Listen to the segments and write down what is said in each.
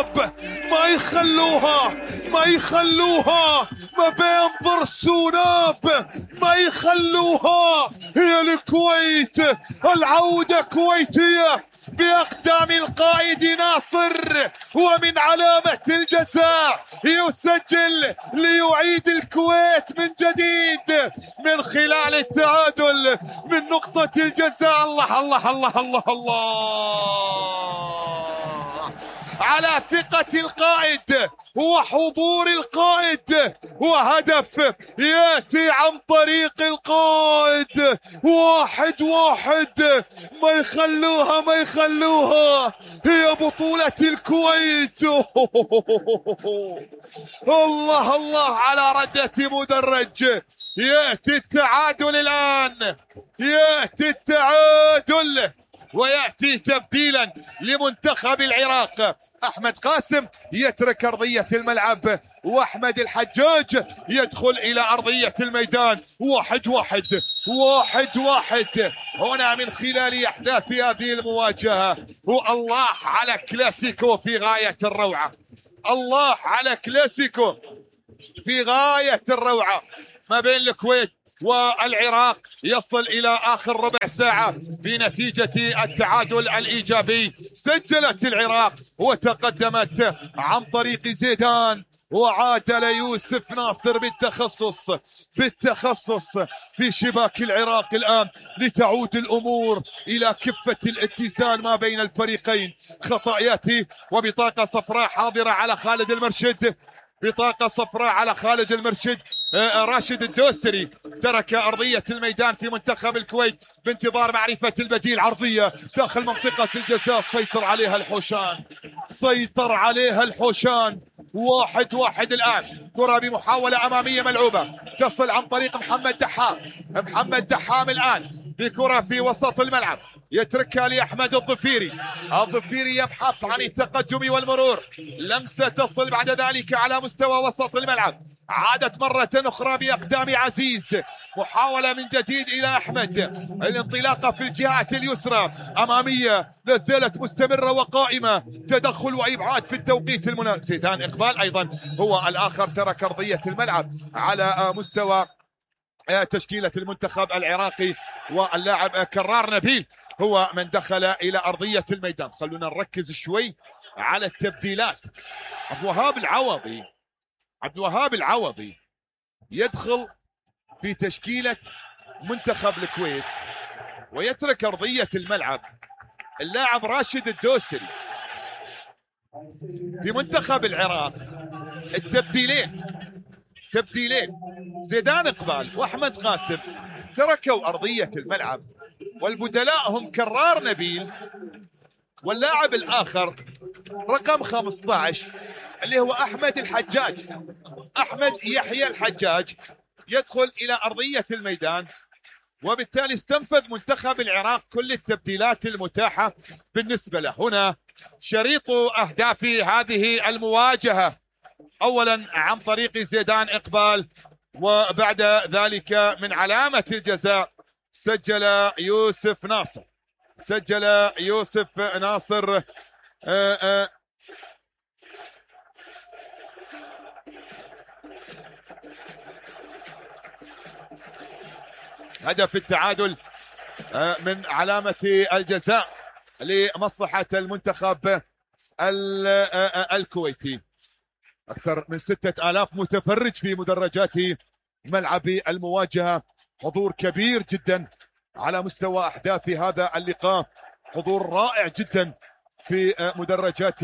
سوناب، ما يخلوها ما يخلوها ما بينظر سوناب، ما يخلوها. هي الكويت، العودة كويتية بأقدام القائد ناصر، ومن علامة الجزاء يسجل ليعيد الكويت من جديد من خلال التعادل من نقطة الجزاء. الله الله الله الله الله على ثقة القائد وحضور القائد، وهدف يأتي عن طريق القائد. 1-1، ما يخلوها ما يخلوها، هي بطولة الكويت. الله الله على ردة مدرج. يأتي التعادل الآن، يأتي التعادل ويأتي تبديلا لمنتخب العراق. أحمد قاسم يترك أرضية الملعب، وأحمد الحجاج يدخل إلى أرضية الميدان. 1-1 هنا من خلال أحداث هذه المواجهة. والله على كلاسيكو في غاية الروعة، الله على كلاسيكو في غاية الروعة ما بين الكويت والعراق، يصل إلى آخر ربع ساعة بنتيجة التعادل الإيجابي. سجلت العراق وتقدمت عن طريق زيدان، وعادل يوسف ناصر بالتخصص في شباك العراق الآن، لتعود الأمور إلى كفة الاتزان ما بين الفريقين. خطأ يأتي وبطاقة صفراء حاضرة على خالد المرشد، بطاقة صفراء على خالد المرشد. راشد الدوسري ترك أرضية الميدان في منتخب الكويت بانتظار معرفة البديل. عرضية داخل منطقة الجزاء، سيطر عليها الحوشان. 1-1 الآن. كرة بمحاولة أمامية ملعوبة تصل عن طريق محمد دحام الآن بكرة في وسط الملعب، يتركها لأحمد الظفيري يبحث عن التقدم والمرور. لمسة تصل بعد ذلك على مستوى وسط الملعب، عادت مرة أخرى بأقدام عزيز. محاولة من جديد إلى أحمد، الانطلاقة في الجهة اليسرى أمامية لازالت مستمرة وقائمة. تدخل وإبعاد في التوقيت المناسب. زيدان إقبال أيضا هو الآخر ترك أرضية الملعب على مستوى تشكيلة المنتخب العراقي، واللاعب كرار نبيل هو من دخل إلى أرضية الميدان. خلونا نركز شوي على التبديلات. عبد الوهاب العوضي يدخل في تشكيلة منتخب الكويت ويترك أرضية الملعب اللاعب راشد الدوسري. في منتخب العراق تبديلين زيدان إقبال وأحمد قاسم تركوا أرضية الملعب، والبدلاء هم كرار نبيل واللاعب الآخر رقم 15 اللي هو أحمد يحيى الحجاج يدخل إلى أرضية الميدان. وبالتالي استنفذ منتخب العراق كل التبديلات المتاحة بالنسبة له. هنا شريط أهداف هذه المواجهة، أولا عن طريق زيدان إقبال، وبعد ذلك من علامة الجزاء سجل يوسف ناصر هدف التعادل من علامة الجزاء لمصلحة المنتخب الكويتي. أكثر من 6000 متفرج في مدرجات ملعب المواجهة، حضور كبير جدا على مستوى أحداث هذا اللقاء، حضور رائع جدا في مدرجات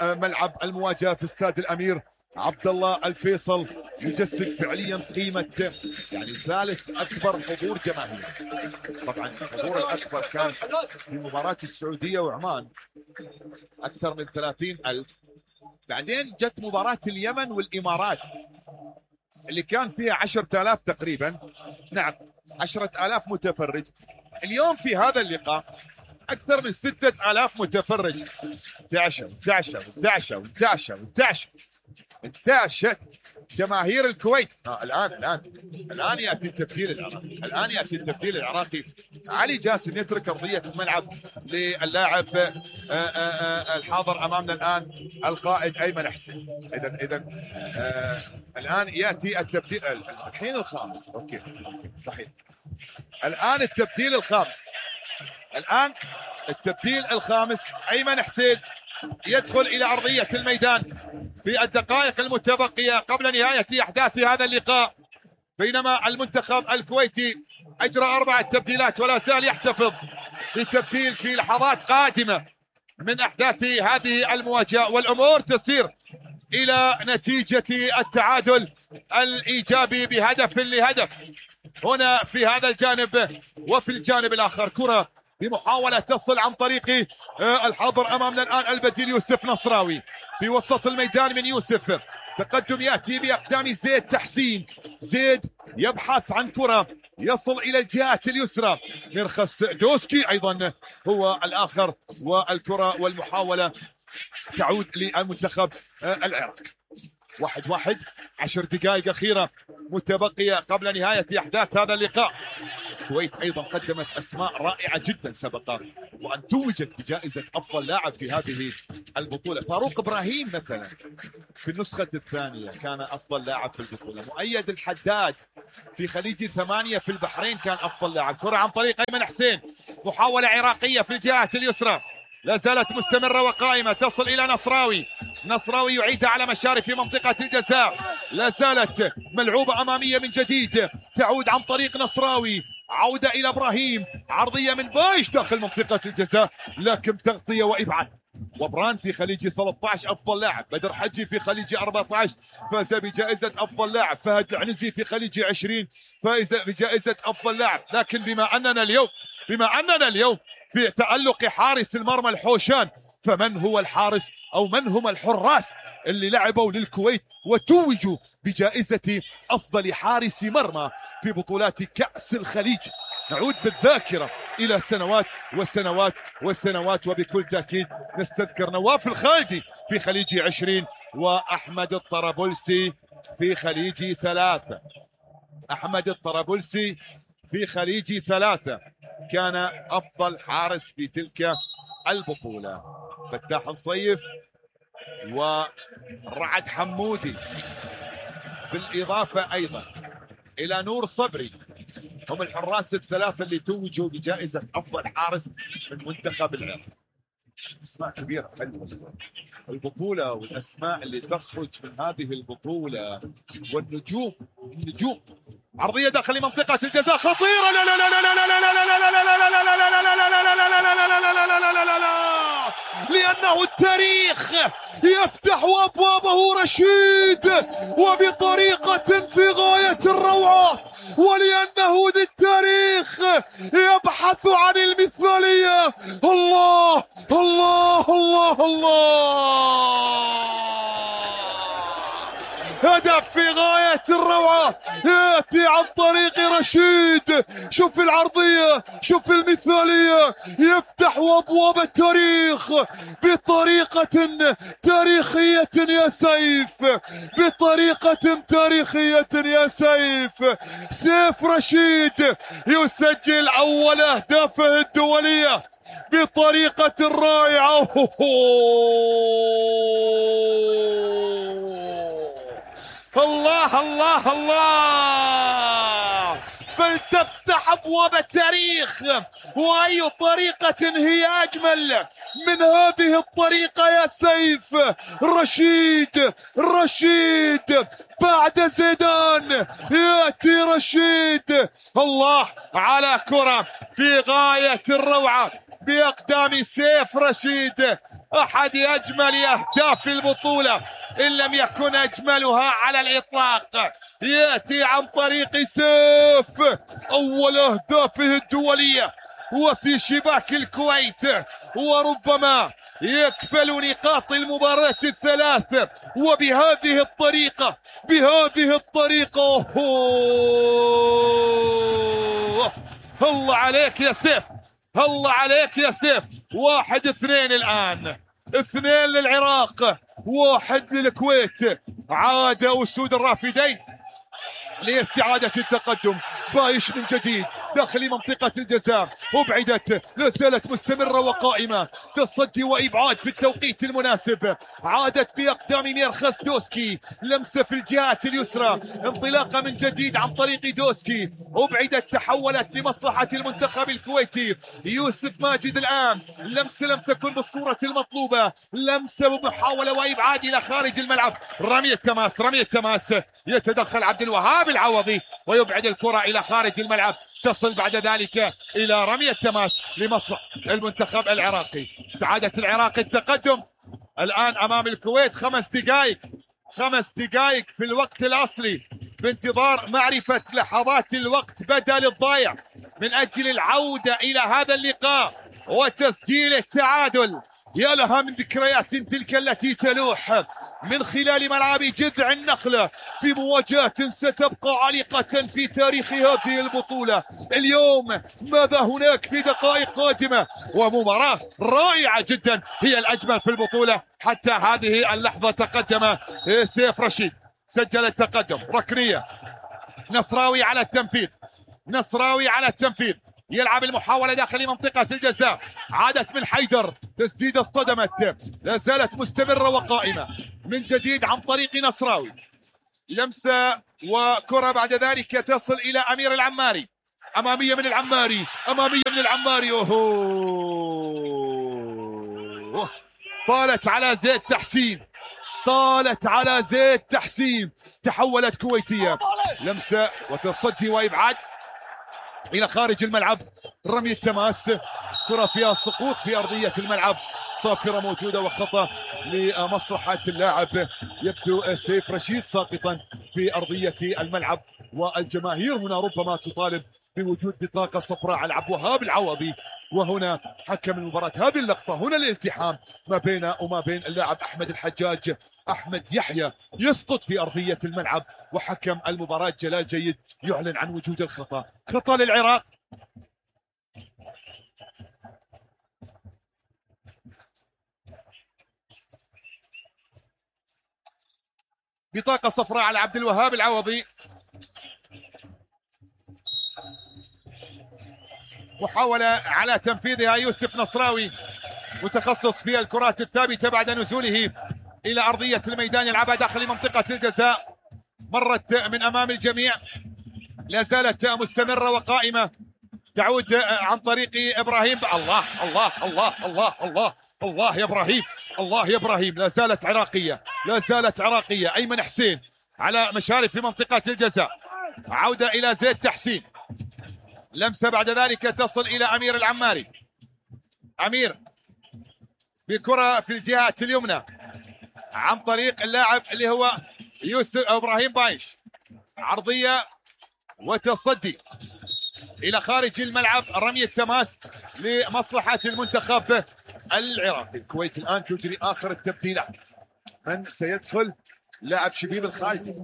ملعب المواجهة في استاد الأمير عبد الله الفيصل، يجسد فعليا قيمة يعني ثالث أكبر حضور جماهيري. طبعا الحضور الأكبر كان في مباراة السعودية وعمان أكثر من 30,000، بعدين جت مباراة اليمن والإمارات اللي كان فيها 10,000 تقريبا، نعم 10,000 متفرج. اليوم في هذا اللقاء أكثر من 6,000 متفرج. انتعشت جماهير الكويت. الان ياتي التبديل العراقي، الان ياتي التبديل العراقي. علي جاسم يترك ارضيه الملعب للاعب الحاضر امامنا الان القائد ايمن حسين. اذا الان ياتي التبديل الحين الخامس. اوكي صحيح، الان التبديل الخامس. الان التبديل الخامس ايمن حسين يدخل الى ارضيه الميدان في الدقائق المتبقيه قبل نهايه احداث هذا اللقاء، بينما المنتخب الكويتي اجرى 4 تبديلات ولا زال يحتفظ بالتبديل في لحظات قادمه من احداث هذه المواجهه، والامور تسير الى نتيجه التعادل الايجابي بهدف لهدف هنا في هذا الجانب. وفي الجانب الاخر كره بمحاولة تصل عن طريق الحاضر أمامنا الآن البديل يوسف نصراوي في وسط الميدان من يوسف. تقدم يأتي بأقدام زيد تحسين. زيد يبحث عن كرة يصل إلى الجهة اليسرى. مرخص دوسكي أيضا هو الآخر، والكرة والمحاولة تعود للمنتخب العراق. 1-1، 10 دقائق أخيرة متبقية قبل نهاية أحداث هذا اللقاء. الكويت ايضا قدمت اسماء رائعه جدا سبق وان توجت بجائزه افضل لاعب في هذه البطوله. فاروق ابراهيم مثلا في النسخه الثانيه كان افضل لاعب في البطوله. مؤيد الحداد في خليجي 8 في البحرين كان افضل لاعب. كره عن طريق ايمن حسين، محاوله عراقيه في الجهه اليسرى لا زالت مستمره وقائمه، تصل الى نصراوي. نصراوي يعيدها على مشارف في منطقه الجزاء، لا زالت ملعوبه اماميه من جديد، تعود عن طريق نصراوي، عودة إلى إبراهيم، عرضية من بايش داخل منطقة الجزاء، لكن تغطية وإبعاد. وبران في خليجي 13 أفضل لاعب، بدر حجي في خليجي 14 فاز بجائزة أفضل لاعب، فهد العنزي في خليجي 20 فاز بجائزة أفضل لاعب. لكن بما أننا اليوم في تألق حارس المرمى الحوشان، فمن هو الحارس أو من هم الحراس اللي لعبوا للكويت وتوجوا بجائزة أفضل حارس مرمى في بطولات كأس الخليج؟ نعود بالذاكرة إلى سنوات وسنوات وسنوات، وبكل تأكيد نستذكر نواف الخالدي في خليجي 20 وأحمد الطرابلسي في خليجي 3. أحمد الطرابلسي في خليجي 3 كان أفضل حارس في تلك البطولة. فتاح الصيف ورعد حمودي بالإضافة أيضا إلى نور صبري هم الحراس الثلاثة اللي توجوا بجائزة أفضل حارس من منتخب العراق. أسماء كبيرة حلوة البطولة، والأسماء اللي تخرج من هذه البطولة والنجوم. عرضية داخل منطقة الجزاء خطيرة، لا لا لا لا لا لا لا لا لا لا لا، لأنه التاريخ يفتح أبوابه رشيد وبطريقة في غاية الروعة، ولأنه التاريخ يبحث عن المثالية. الله الله الله الله، هدف في غاية الروعة يأتي عن طريق رشيد. شوف العرضية، شوف المثالية، يفتح أبواب التاريخ بطريقة تاريخية يا سيف، بطريقة تاريخية يا سيف. سيف رشيد يسجل أول أهدافه الدولية بطريقة رائعة. الله الله الله، فلتفتح أبواب التاريخ، وأي طريقة هي أجمل من هذه الطريقة يا سيف. رشيد بعد زيدان يأتي رشيد. الله على كرة في غاية الروعة بأقدام سيف رشيد، أحد أجمل أهداف البطولة إن لم يكن أجملها على الإطلاق. يأتي عن طريق سيف أول أهدافه الدولية وفي شباك الكويت، وربما يكفل نقاط المباراة الثلاث. وبهذه الطريقة الله عليك يا سيف، الله عليك يا سيف. 1-2 الآن، 2 للعراق 1 للكويت عاد أسود الرافدين لاستعادة التقدم. بايش من جديد داخل منطقة الجزاء، وبعدت لا زالت مستمرة وقائمة، تصدي وإبعاد في التوقيت المناسب. عادت بأقدام ميرخس دوسكي، لمسة في الجهة اليسرى، انطلاقة من جديد عن طريق دوسكي، وبعدت تحولت لمصلحة المنتخب الكويتي. يوسف ماجد الآن لمسة لم تكن بالصورة المطلوبة، لمسة ومحاولة وإبعاد إلى خارج الملعب. رمية تماس، رمية تماس، يتدخل عبد الوهاب العوضي ويبعد الكرة إلى خارج الملعب. تصل بعد ذلك إلى رمية تماس لمصلحة المنتخب العراقي. استعادت العراق التقدم الآن أمام الكويت. 5 دقائق، 5 دقائق في الوقت الأصلي، بانتظار معرفة لحظات الوقت بدل الضايع من أجل العودة إلى هذا اللقاء وتسجيل التعادل. يا لها من ذكريات تلك التي تلوح من خلال ملعب جذع النخلة في مواجهة ستبقى عالقة في تاريخ هذه البطولة. اليوم ماذا هناك في دقائق قادمة؟ ومباراة رائعة جدا، هي الأجمل في البطولة حتى هذه اللحظة. تقدم سيف رشيد، سجل التقدم، ركنية، نصراوي على التنفيذ، نصراوي على التنفيذ، يلعب المحاولة داخل منطقة الجزاء. عادت من حيدر، تسديدة اصطدمت، لا زالت مستمرة وقائمة من جديد عن طريق نصراوي. لمسة وكرة بعد ذلك تصل إلى أمير العماري، أمامية من العماري، أمامية من العماري. أوه. طالت على زيد تحسين، طالت على زيد تحسين، تحولت كويتية. لمسة وتصدي وإبعاد إلى خارج الملعب. رمية تماس، كرة فيها السقوط في أرضية الملعب، صافرة موجودة وخطأ لمصلحة اللاعب. يبدو سيف رشيد ساقطا في أرضية الملعب، والجماهير هنا ربما تطالب بوجود بطاقة صفراء على عبد الوهاب العوضي. وهنا حكم المباراة هذه اللقطة، هنا الالتحام ما بين وما بين اللاعب أحمد الحجاج. أحمد يحيى يسقط في أرضية الملعب، وحكم المباراة جلال جيد يعلن عن وجود الخطأ. خطأ للعراق. بطاقة صفراء على عبد الوهاب العوضي. محاولة على تنفيذها يوسف نصراوي، متخصص في الكرات الثابتة بعد نزوله إلى أرضية الميدان، يلعبها داخل منطقة الجزاء، مرت من أمام الجميع، لا زالت مستمرة وقائمة، تعود عن طريق إبراهيم. الله الله الله الله الله الله يا إبراهيم، الله يا إبراهيم. لا زالت عراقية، لا زالت عراقية. أيمن حسين على مشارف في منطقة الجزاء، عودة إلى زيد تحسين، لمسة بعد ذلك تصل إلى أمير العماري. أمير بكرة في الجهة اليمنى عن طريق اللاعب اللي هو يوسف أو إبراهيم بايش، عرضية وتصدي إلى خارج الملعب. رمية تماس لمصلحة المنتخب العراقي. الكويت الآن تجري آخر التبديلات. من سيدخل؟ لاعب شبيب الخالدي.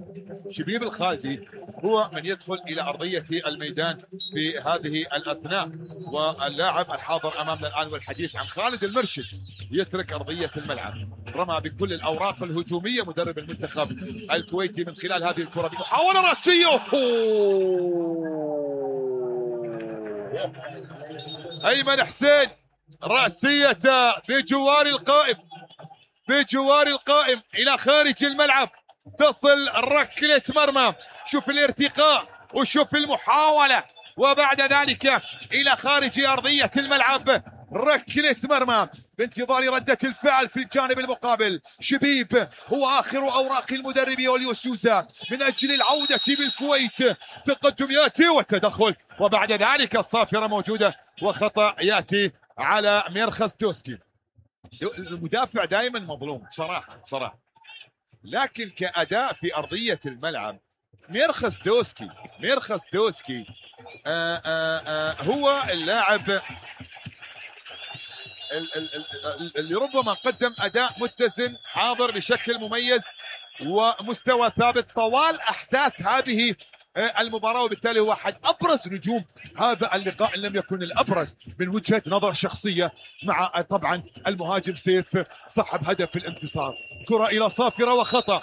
شبيب الخالدي هو من يدخل إلى أرضية الميدان في هذه الأثناء، واللاعب الحاضر أمامنا الآن والحديث عن خالد المرشد يترك أرضية الملعب. رمى بكل الأوراق الهجومية مدرب المنتخب الكويتي من خلال هذه الكرة بمحاولة رأسية. أيمن حسين رأسية بجوار القائم، بجوار القائم إلى خارج الملعب، تصل ركلة مرمى. شوف الارتقاء وشوف المحاولة، وبعد ذلك إلى خارج أرضية الملعب، ركلة مرمى بانتظار ردة الفعل في الجانب المقابل. شبيب هو آخر أوراق المدرب أوليو سوزا من أجل العودة بالكويت. تقدم يأتي والتدخل، وبعد ذلك الصافرة موجودة وخطأ يأتي على ميرخس دوسكي. المدافع دائما مظلوم بصراحة، لكن كأداء في أرضية الملعب ميرخس دوسكي هو اللاعب اللي ربما قدم أداء متزن، حاضر بشكل مميز ومستوى ثابت طوال أحداث هذه المباراة، وبالتالي هو أحد أبرز نجوم هذا اللقاء إن لم يكن الأبرز من وجهة نظر شخصية، مع طبعا المهاجم سيف صاحب هدف الانتصار. كرة إلى صافرة وخطأ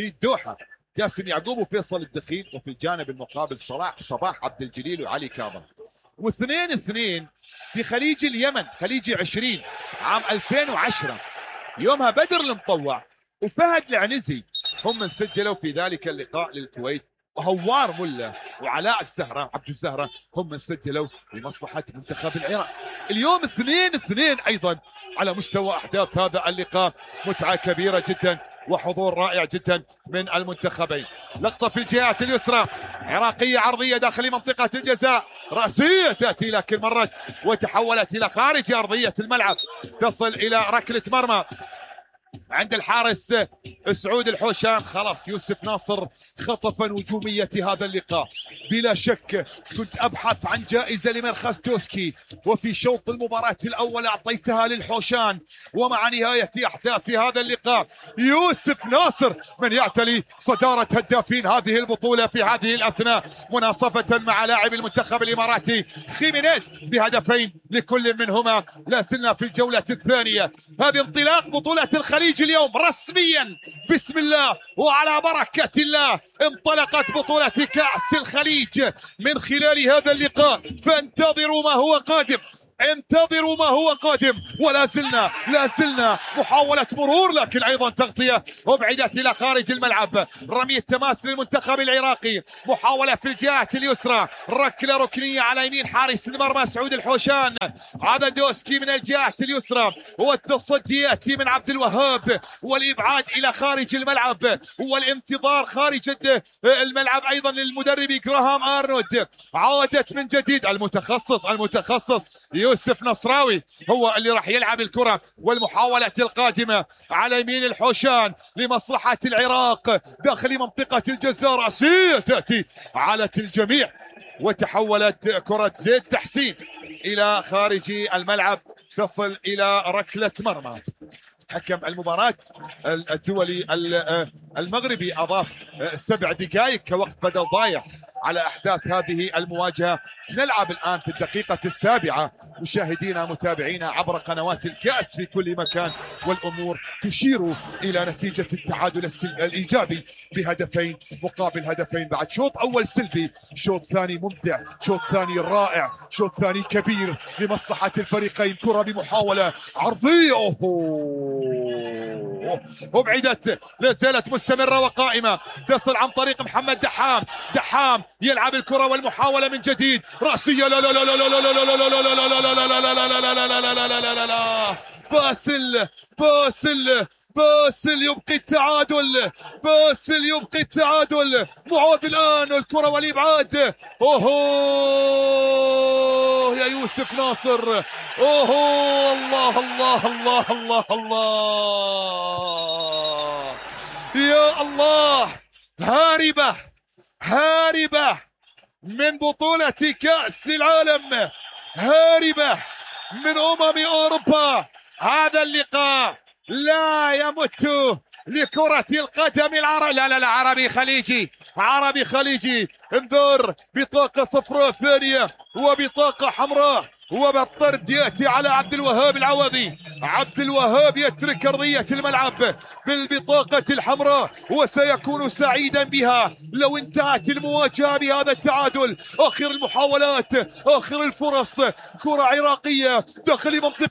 في الدوحة جاسم يعقوب وفيصل الدخيل، وفي الجانب المقابل صباح عبد الجليل وعلي كاظم. واثنين في خليج اليمن، خليجي 20 عام 2010 يومها بدر المطوع وفهد العنزي هم من سجلوا في ذلك اللقاء للكويت، وهوار ملا وعلاء الزهرة عبد الزهرة هم من سجلوا لمصلحة منتخب العراق. اليوم 2-2 أيضا على مستوى أحداث هذا اللقاء، متعة كبيرة جدا وحضور رائع جدا من المنتخبين. لقطة في الجهات اليسرى عراقية عرضية داخل منطقة الجزاء، رأسية تأتي لكن مرت وتحولت إلى خارج أرضية الملعب، تصل إلى ركلة مرمى عند الحارس سعود الحوشان. خلاص يوسف ناصر خطف نجومية هذا اللقاء بلا شك. كنت أبحث عن جائزة لمرخص دوسكي، وفي شوط المباراة الأول أعطيتها للحوشان، ومع نهاية أحداث هذا اللقاء يوسف ناصر من يعتلي صدارة هدافين هذه البطولة في هذه الأثناء، مناصفة مع لاعب المنتخب الإماراتي خيمينيز بهدفين لكل منهما. لا زلنا في الجولة الثانية. هذه انطلاق بطولة الخليج اليوم رسميا، بسم الله وعلى بركة الله انطلقت بطولة كأس الخليج من خلال هذا اللقاء، فانتظروا ما هو قادم، انتظروا ما هو قادم. ولا زلنا محاولة مرور لكن ايضا تغطية وابعدت الى خارج الملعب. رمية تماس للمنتخب العراقي، محاولة في الجهة اليسرى، ركلة ركنية على يمين حارس المرمى سعود الحوشان. هذا دوسكي من الجهة اليسرى، والتصدي ياتي من عبد الوهاب، والابعاد الى خارج الملعب والانتظار خارج الملعب ايضا للمدرب جراهام ارنولد. عادت من جديد المتخصص يوسف نصراوي هو اللي راح يلعب الكرة، والمحاولة القادمة على يمين الحوشان لمصلحة العراق داخل منطقة الجزاء، رأسية تأتي على الجميع وتحولت كرة زيد تحسين إلى خارج الملعب، تصل إلى ركلة مرمى. حكم المباراة الدولي المغربي أضاف 7 دقائق كوقت بدل ضايع على أحداث هذه المواجهة. نلعب الآن في الدقيقة 7 مشاهدينا متابعينا عبر قنوات الكأس في كل مكان، والأمور تشير إلى نتيجة التعادل الإيجابي بهدفين مقابل هدفين بعد شوط أول سلبي، شوط ثاني ممتع، شوط ثاني رائع، شوط ثاني كبير لمصلحة الفريقين. كرة بمحاولة عرضية وبعدت، لا زالت مستمرة وقائمة، تصل عن طريق محمد دحام يلعب الكرة والمحاولة من جديد، رأسية لا لا لا لا لا لا لا لا لا لا لا لا لا باسل يبقي التعادل، باسل يبقي التعادل. معوذ الآن الكرة والإبعاد، اوهو يا يوسف ناصر، اوهو الله الله الله الله الله يا الله. هاربة من بطولة كأس العالم، هاربة من أوروبا. هذا اللقاء لا يمت لكرة القدم العربية، لا عربي خليجي. انظر، بطاقة صفراء ثانية وبطاقة حمراء، وبالطرد يأتي على عبد الوهاب العوضي. عبد الوهاب يترك أرضية الملعب بالبطاقة الحمراء، وسيكون سعيدا بها لو انتهت المواجهة بهذا التعادل. آخر المحاولات، آخر الفرص، كرة عراقية داخل منطقة